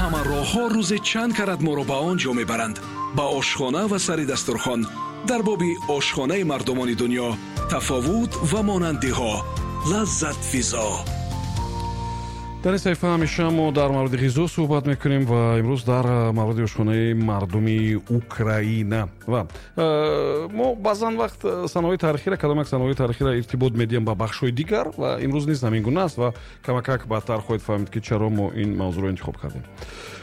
Ҳама роҳҳо рӯзе чанд карат моро ба он ҷо мебаранд, ба ошхона ва сари дастурхон. Дар боби ошхонаи мардумони дунё, тафовут ва монандиҳо. Лаззатфизо. Дар ин саҳифа ҳамеша мо дар мавриди ғизо суҳбат мекунем ва имрӯз дар мавриди ошхонаи мардуми Украина. Ва мо баъзан вақт санаҳои таърихиро, кадом як санаҳои таърихиро иртибот медиҳем ба бахшҳои дигар ва имрӯз низ ҳамин гуна аст ва камакак баъдтар хоҳед фаҳмид, ки чаро мо ин мавзӯъро интихоб кардем.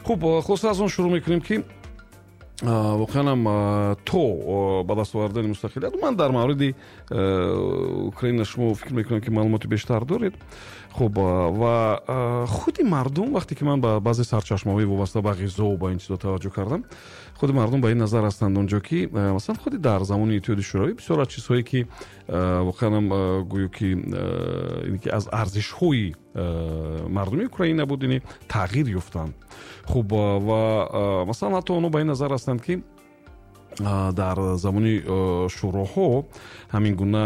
Хуб, хулоса, аз он шурӯъ мекунем, ки воқеан ҳам то ба даст овардани мустақилият ман дар мавриди Украина, шумо фикр мекунам, ки маълумоти бештар доред. Хуб, ва худи мардум, вақте ки ман ба баъзе сарчашмаҳои вобаста ба ғизову ба ин чизо таваҷҷӯҳ кардам, худи мардум ба ин назар ҳастанд онҷо, ки масалан худи дар замони Иттиҳоди Шӯравӣ бисёр аз чизҳое, ки воқеан ҳам гӯё ки аз арзишҳои мардуми Украина буд, ини тағйир ёфтанд. Хуб, ва масалан ҳатто онҳо ба ин назар ҳастанд, ки дар замони шӯроҳо ҳамин гуна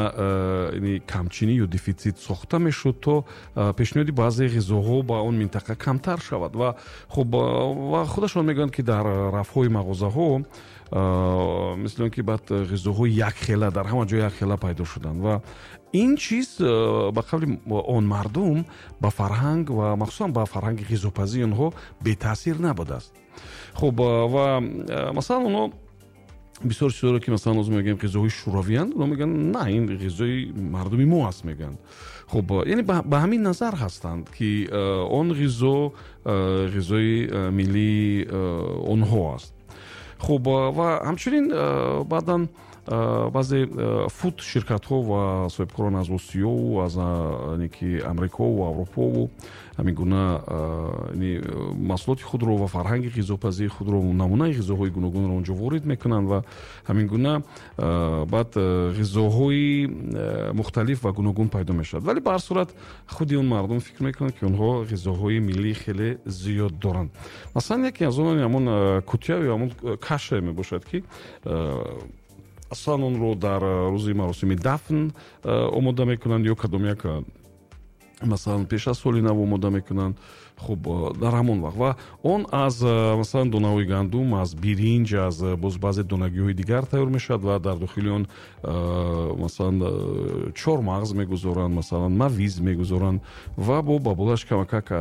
камчинӣ ё дефитсит сохта мешуд, то пешниҳоди баъзе ғизоҳо ба он минтақа камтар шавад. Ва хуб, ва худашон мегӯянд, ки дар рафҳои мағозаҳо мисли он ки баъд ғизоҳои якхела дар ҳама ҷо якхела пайдо шуданд ва ин чиз, ба қавли он мардум, ба фарҳанг ва махсусан ба фарҳанги ғизопазии онҳо бетаъсир набудааст. Хуб, ва масалан онҳо бисёр чизҳоро, ки масалан ҳозир мегӯем ғизоҳои шӯравиянд, онҳо мегӯянд, на, ин ғизои мардуми мо аст, мегӯянд. Хуб, яъне ба ҳамин назар ҳастанд, ки он ғизо ғизои миллии онҳо аст. Хуб, ва ҳамчунин баъдан баъзе фуд ширкатҳо ва соҳибкорон аз Осиёву аз ки Амрикову Аврупову ҳамин гуна маҳсулоти худро ва фарҳанги ғизопазии худро, намунаи ғизоҳои гуногунро онҷо ворид мекунанд ва ҳамин гуна баъд ғизоҳои мухталиф ва гуногун пайдо мешавад. Вале ба ҳар сурат худи он мардум фикр мекунанд, ки онҳо ғизоҳои миллии хеле зиёд доранд. Масалан, яке аз онон ҳамон кутя ё ҳамон каша мебошад, ки аслан онро дар рӯзи маросими дафн омода мекунанд ё кадом як, масалан, пеш аз соли нав омода мекунанд. Хуб, дар ҳамон вақт ва он аз, масалан, донаҳои гандум, аз биринҷ, аз боз баъзе донагиҳои дигар тайёр мешавад ва дар дохили он, масалан, чормағз мегузоранд, масалан, мавиз мегузоранд ва бо ба болаш камакак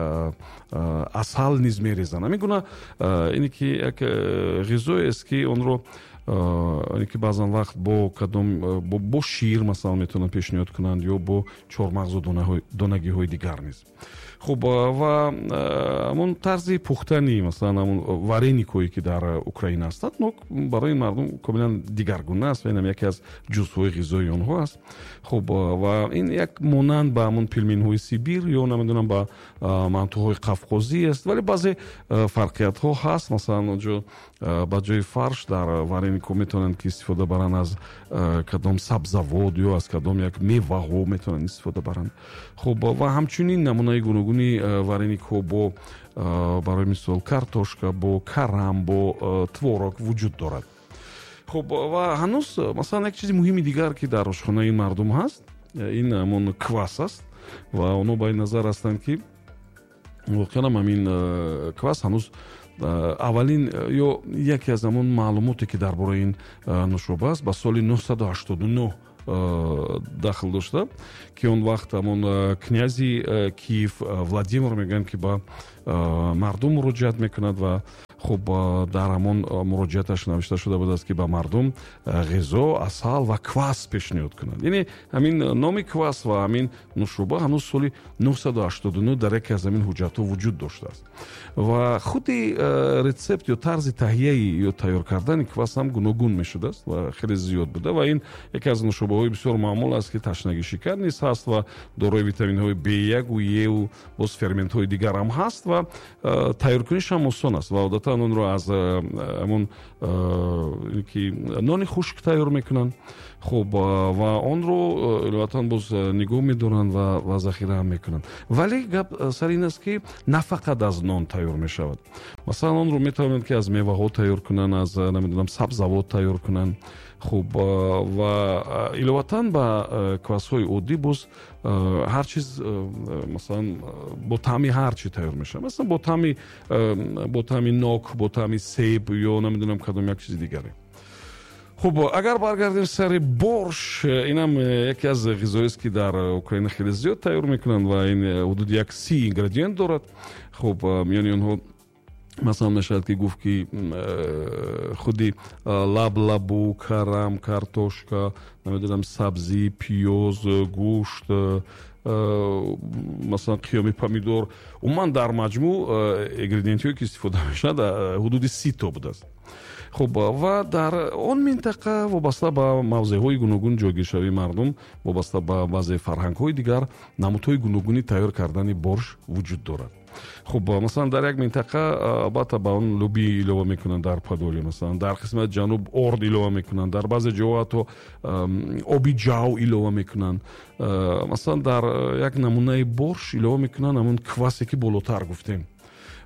асал низ мерезанд. Ҳамин гуна ине ки як ғизоест, ки онро ки баъзан вақт бо кадом бо шир, масалан, метавонанд пешниҳод кунанд ё бо чормағзу донагиҳои дигар низ. Хуб, ва ҳамон тарзи пухтани, масалан, ҳамон вареникҳое, ки дар Украина ҳастанд, барои мардум комилан дигаргуна аст ва инам яке аз ҷузъҳои ғизои онҳо аст. Хуб, ва ин як монанд ба ҳамон пельменҳои Сибир ё намедонам ба мантуҳои қафқозӣ аст, вале баъзе фарқиятҳо ҳаст. Масалан, онҷо ба ҷои фарш дар вареникҳо метавонанд, ки истифода баранд аз кадом сабзавот ё аз кадом як меваҳо метавонанд истифода баранд. Хуб, ва ҳамчунин намунаи гуногуни вареникҳо бо, барои мисол, картошка, бо карам, бо творог вуҷуд дорад. Хуб, ва ҳанӯз, масалан, як чизи муҳими дигар, ки дар ошхонаи мардум ҳаст, ин ҳамон квас аст ва онҳо ба ин назар ҳастанд, ки воқеан ҳамин квас ҳанӯз аввалин ё яке аз ҳамон маълумоте, ки дар бораи ин нӯшоба аст, ба соли 989 дахл дошта, ки он вақт ҳамон князи Киев Владимир, мегӯянд, ки ба мардум муроҷиат мекунад. Ва хуб, дар ҳамон муроҷиаташ навишта шуда будааст, ки ба мардум ғизо, асал ва квас пешниҳод кунанд. Яъне ҳамин номи квас ва ҳамин нӯшоба ҳанӯз соли 989 дар яке аз ҳамин ҳуҷҷатҳо вуҷуд доштааст. Ва худи рецепт ё тарзи таҳияи ё тайёр кардани квас ҳам гуногун мешудааст ва хеле зиёд буда. Ва ин яке аз нӯшобаҳои бисёр маъмул аст, ки ташнагишикан низ ҳаст ва дорои витаминҳои B1 Е боз ферментҳои дигар ҳам ҳаст ва тайёркуниш ҳам осон аст. Ва одатан онро аз ҳамон ки нони хушк тайёр мекунанд. Хуб, ва онро иловатан боз нигоҳ медоранд ва захира ҳам мекунанд. Вале гап сар ин аст, ки на фақат аз нон тайёр мешавад. Масалан, онро метавонанд, ки аз меваҳо тайёр кунанд, аз, намедонам, сабзавот тайёр кунанд. Хуб, ва иловатан ба квасҳои оддӣ боз ҳар чиз, масалан, бо таъми ҳар чи тайёр мешавад, масалан, бо таъми нок, бо таъми себ ё намедонам кадом як чизи дигаре. Хуб, агар баргардем сари борш, инам яке аз ғизоест, ки дар Украина хеле зиёд тайёр мекунанд, ва ин ҳудуди 130 ингредиент дорад. Хуб, миёни онҳо, масалан, мешавад ки гуфт, ки худи лаблабу, карам, картошка, намедонам, сабзӣ, пиёз, гӯшт, масалан, қиёми помидор. Умуман, дар маҷмӯъ ингредиентҳое, ки истифода мешавад, ҳудуди 30 то будааст. Хуб, ва дар он минтақа вобаста ба мавзеъҳои гуногун ҷойгиршавии мардум, вобаста ба баъзе фарҳангҳои дигар, намудҳои гуногуни тайёр кардани борш вуҷуд дорад. Хуб, масалан, дар як минтақа албатта ба он лӯбӣ илова мекунанд, дар Подолия, масалан, дар қисмати ҷануб орд илова мекунанд, дар баъзе ҷоҳо ҳатто оби ҷав илова мекунанд. Масалан, дар як намунаи борш илова мекунанд ҳамон квасе, ки болотар гуфтем.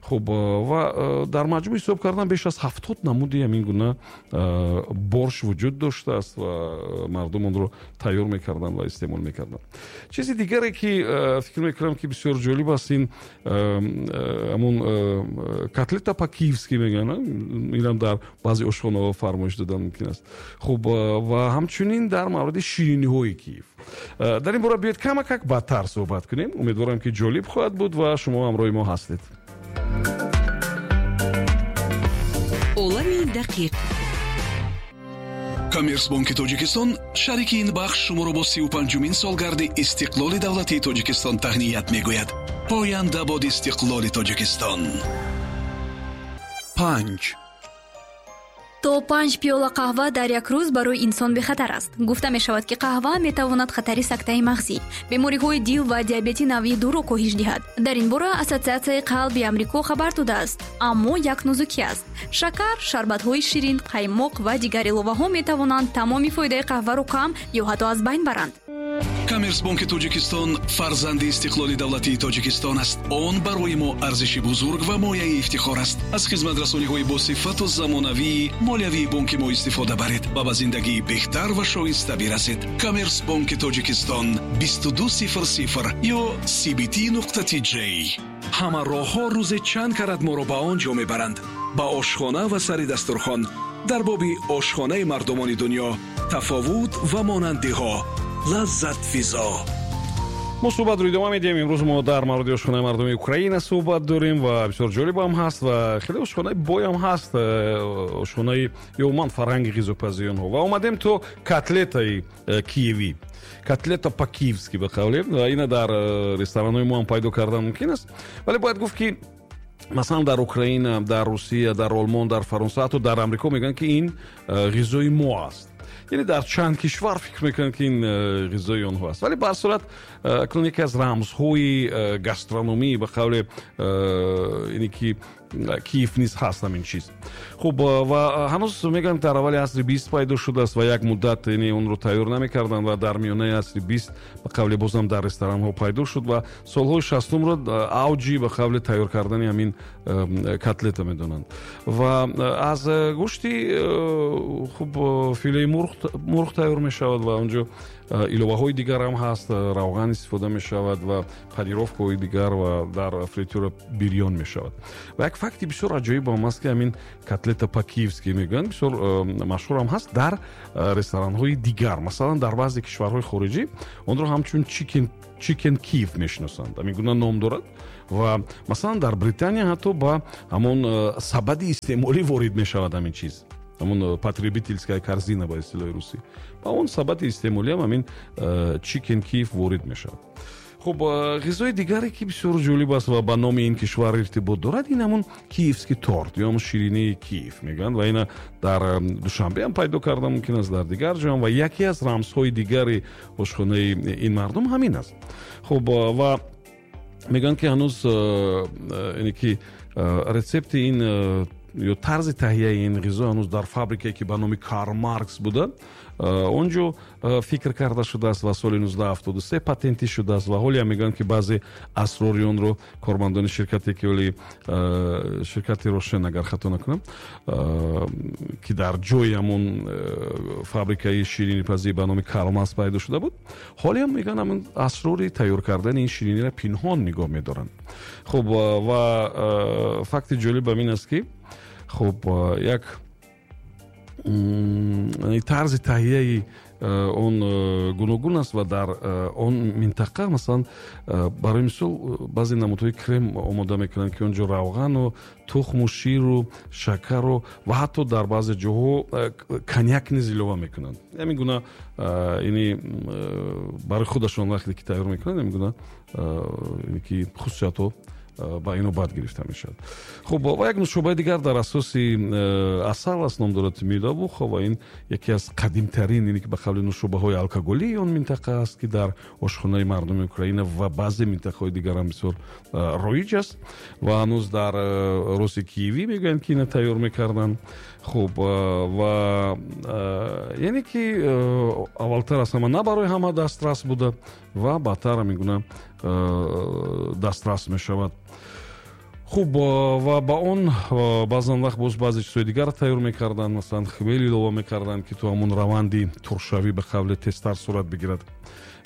Хуб, ва дар маҷмӯъ ҳисоб кардан, беш аз 70 намуди ҳамин гуна борш вуҷуд доштааст ва мардум онро тайёр мекарданд ва истеъмол мекарданд. Чизи дигаре, ки фикр мекунам, ки бисёр ҷолиб аст, ин ҳамон котлета по-киевски мегӯянд. Инам дар баъзе ошхонаҳо фармоиш додан мумкин аст. Хуб, ва ҳамчунин дар мавриди шириниҳои Киев, дар ин бора биёед камакак баъдтар суҳбат кунем. Умедворам, ки ҷолиб хоҳад буд ва шумо ҳамроҳи мо ҳастед. Олами дақиқ. Коммерсбонки Тоҷикистон, шарики ин бахш, шуморо бо 35-умин солгарди истиқлоли давлатии Тоҷикистон таҳният мегӯяд. Поянда бод истиқлоли Тоҷикистон! Панҷ. То панҷ пиёла қаҳва дар як рӯз барои инсон бехатар аст. Гуфта мешавад, ки қаҳва метавонад хатари сактаи мағзӣ, бемориҳои дил ва диабети навъи дуро коҳиш диҳад. Дар ин бора Ассотсиатсияи қалби Амрико хабар додааст. Аммо як нозукӣ аст: шакар, шарбатҳои ширин, қаймоқ ва дигар иловаҳо метавонанд тамоми фоидаи қаҳваро кам ё ҳатто аз байн баранд. Коммерсбонки Тоҷикистон фарзанди истиқлоли давлатии Тоҷикистон аст. Он барои мо арзиши бузург ва мояи ифтихор аст. Аз хизматрасониҳои босифату замонавии молиявии бонки мо истифода баред ва ба зиндагии беҳтар ва шоиста бирасед. Коммерсбонки Тоҷикистон, 2200 ё cbt.tj. Ҳама роҳҳо рӯзе чанд карат моро ба он ҷо мебаранд, ба ошхона ва сари дастурхон. Дар боби ошхонаи мардумони дунё, тафовут ва монандиҳо. Лаззатфизо. Мо суҳбатро идома медиҳем. Имрӯз мо дар мавриди ошхонаи мардуми Украина суҳбат дорем ва бисёр ҷолибам ҳаст ва хеле ошхонаи боям ҳаст, ошхонаи ё умуман фарҳанги ғизопазии онҳо. Ва омадем то котлетаи киевӣ, котлета по-киевски ба қавле, ва ина дар ресторанҳои мо ҳам пайдо кардан мумкин аст. Вале бояд гуфт, ки масалан, дар Украина, дар Русия, дар Олмон, дар Фаронса, ҳатто дар Амрико мегӯянд, ки ин ғизои мо аст. Яъне дар чанд кишвар фикр мекунанд, ки ин ғизои онҳо аст. Вале ба ҳар сурат, акнун яке аз рамзҳои гастрономӣ, ба қавле, ине ки Киев низ ҳаст ҳамин чиз. Хуб, ва ҳанӯз мегӯянд, дар аввали асри 20 пайдо шудааст ва як муддат, яъне, онро тайёр намекарданд ва дар миёнаи асри 20, ба қавле, бозам дар ресторанҳо пайдо шуд ва солҳои 60-умро авҷи, ба қавле, тайёр кардани ҳамин котлета медонанд. Ва аз гӯшти, хуб, филеи мурғ тайёр мешавад ва онҷо иловаҳои дигар ҳам ҳаст, равған истифода мешавад ва панировкаҳои дигар ва дар фритюра бирён мешавад. Ва як факти бисёр аҷоибам аст, ки ҳамин котлета по-киевски мегӯянд, бисёр машҳурам ҳаст дар ресторанҳои дигар. Масалан, дар баъзе кишварҳои хориҷӣ онро ҳамчун чикен Киев мешиносанд, ҳамин гуна ном дорад. Ва масалан, дар Британия ҳатто ба ҳамон сабади истеъмолӣ ворид мешавад ҳамин чиз, ҳамон потребительская корзина ба истилоҳи русӣ. Ба он сабади истеъмолиам ҳамин чикен Киев ворид мешавад. Хуб, ғизои дигаре, ки бисёр ҷолиб аст ва ба номи ин кишвар иртибот дорад, ин ҳамон киевский торт ё ҳамон ширинии Киев мегӯянд. Ва ина дар Душанбе ҳам пайдо карда мумкин аст, дар дигар ҷоам. Ва яке аз рамзҳои дигари ошхонаи ин мардум ҳамин аст. Хуб, ва мегӯянд, ки ҳанӯз, яъне ки, рецепти ин ё тарзи таҳияи ин ғизо ҳанӯз дар фабрикае, ки ба номи Карл Маркс буда, Он ҷо фикр карда шудааст ва соли 1973 патентӣ шудааст ва ҳолиам мегӯянд, ки баъзе асрори онро кормандони ширкате, ки оли ширкати Рошен, агар хато накунам, ки дар ҷои ҳамон фабрикаи ширинипазӣ ба номи Кармас пайдо шуда буд, ҳолиам мегӯянд, ҳамон асрори тайёр кардани ин шириниро пинҳон нигоҳ медоранд. Хуб, ва факти ҷолиб ин аст, ки хуб, як тарзи таҳияи он гуногун аст ва дар он минтақа, масалан, барои мисол, баъзе намудҳои крем омода мекунанд, ки он ҷо равғану тухму ширу шакару ва ҳатто дар баъзе ҷоҳо коньяк низ илова мекунанд. Ҳамин гуна ини барои худашон вақте ки тайёр мекунанд, ҳамин гуна ки хусусиятҳо ба ино бад гирифта мешавад. Хуб, ва як нушобаи дигар дар асоси асал аст, ном дорад медовуха, ва ин яке аз қадимтарин, ине ки ба қавли нушобаҳои алкоголии он минтақа аст, ки дар ошхонаи мардуми Украина ва баъзе минтақаҳои дигарам бисёр роиҷ аст ва ҳанӯз дар Руси Киевӣ мегӯянд, ки ина тайёр мекарданд. Хуб, ва яъне ки аввалтар аз ҳама на барои ҳама дастрас буда ва баъдтар ҳамин гуна дастрас мешавад. Хуб, ва ба он баъзан вақт боз баъзе чизҳои дигар тайёр мекарданд, масалан, хмел илова мекарданд, ки то ҳамон раванди туршавӣ ба қавле тезтар сурат бигирад.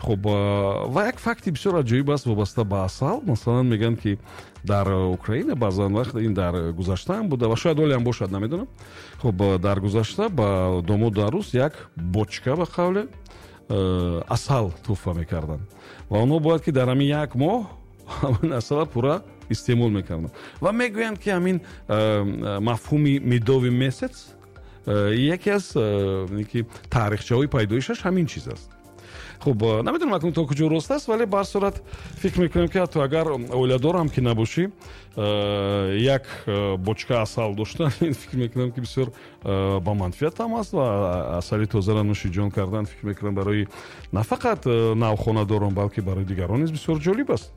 Хуб, ва як факти бисёр аҷоиб аст вобаста ба асал. Масалан, мегӯянд, ки дар Украина баъзан вақт, ин дар гузаштаам буда ва шояд ҳолиам бошад, намедонам, хуб, дар гузашта ба домоду арӯс як бочка, ба қавле, асал тӯҳфа мекарданд ва онҳо бояд ки дар ҳамин як моҳ ҳамин асалро пурра истеъмол мекарданд. Ва мегӯянд, ки ҳамин мафҳуми медовый месяц яке аз ки таърихчаҳои пайдоишаш ҳамин чиз аст. Хуб, намедонам, акнун то куҷо рост аст, вале ба ҳар сурат фикр мекунем, ки ҳатто агар оиладорам ки набошӣ, як бочка асал доштан, фикр мекунам, ки бисёр ба манфиатам аст ва асали тозаро нӯши ҷон кардан, фикр мекунам, барои на фақат навхонадорон, балки барои дигарон низ бисёр ҷолиб аст.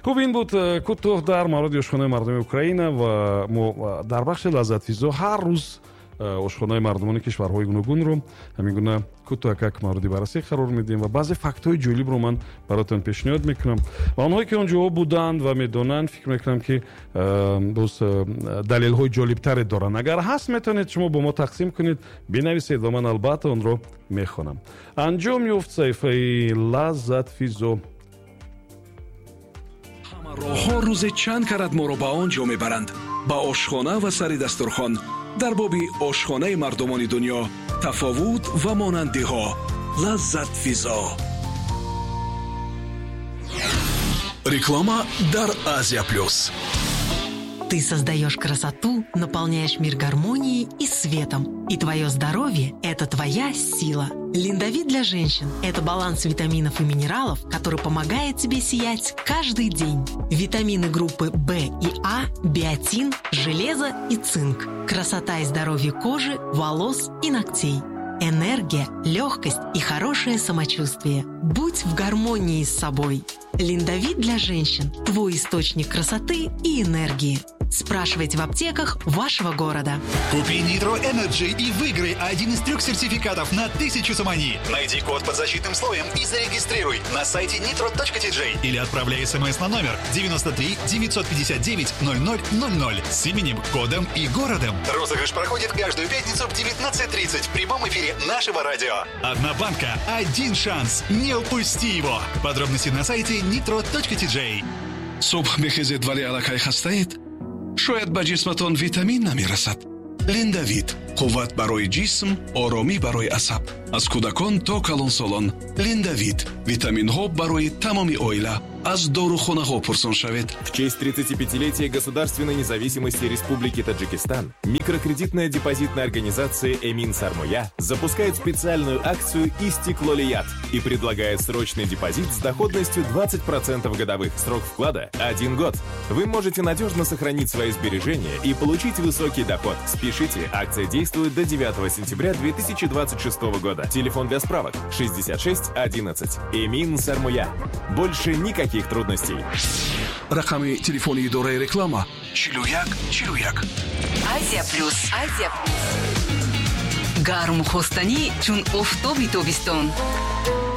Хуб, ин буд кӯтоҳ дар мавриди ошхонаи мардуми Украина. Ва мо дар бахши Лаззатфизо ҳар рӯз ошхонаи мардумони кишварҳои гуногунро ҳамин гуна кӯтоҳакак мавриди баррасӣ қарор медиҳем ва баъзе фактҳои ҷолибро ман бароятон пешниҳод мекунам ва онҳое, ки он ҷоҳо буданд ва медонанд, фикр мекунам, ки боз далелҳои ҷолибтаре доранд. Агар ҳаст, метавонед шумо бо мо тақсим кунед, бинависед ва ман албатта онро мехонам. Анҷом ёфт саҳифаи Лаззатфизо. Роҳҳо рӯзе чанд карат моро ба он ҷо мебаранд, ба ошхона ва сари дастурхон. Дар боби ошхонаи мардумони дунё, тафовут ва монандиҳо. Лаззатфизо. Реклама дар Азия Плюс. Ты создаешь красоту, наполняешь мир гармонией и светом. И твое здоровье – это твоя сила. Линдовит для женщин – это баланс витаминов и минералов, который помогает тебе сиять каждый день. Витамины группы В и А, биотин, железо и цинк. Красота и здоровье кожи, волос и ногтей. Энергия, легкость и хорошее самочувствие. Будь в гармонии с собой. Линдовит для женщин – твой источник красоты и энергии. Спрашивайте в аптеках вашего города. Купи Nitro Energy и выиграй один из трех сертификатов на 1000 сомони. Найди код под защитным слоем и зарегистрируй на сайте nitro.tj или отправляй смс на номер 93 959 0000 с именем, кодом и городом. Розыгрыш проходит каждую пятницу в 19:30 в прямом эфире нашего радио. Одна банка, один шанс. Не упусти его. Подробности на сайте nitro.tj. Субҳ мехезед, вале аллакай хастаед? Шояд ба ҷисматон витамин намерасад. Линдавит: қувват барои ҷисм, оромӣ барои асаб. Аз кӯдакон то калонсолон. Линдавит: витаминҳо барои тамоми оила. Аз дорухонаҳо пурсон шавед. В честь 35-летия государственной независимости Республики Таджикистан микрокредитная депозитная организация «Эмин Сармоя» запускает специальную акцию «Истиклолият» и предлагает срочный депозит с доходностью 20% годовых. Срок вклада – 1 год. Вы можете надежно сохранить свои сбережения и получить высокий доход. Спешите, акция действует до 9 сентября 2026 года. Телефон для справок 66 11. «Эмин Сармоя». Больше никаких трудностей. Рақами телефони идораи реклама 41 41. Азия Плюс. Азия Плюс. Гарму хостанӣ чун офтоби тобистон.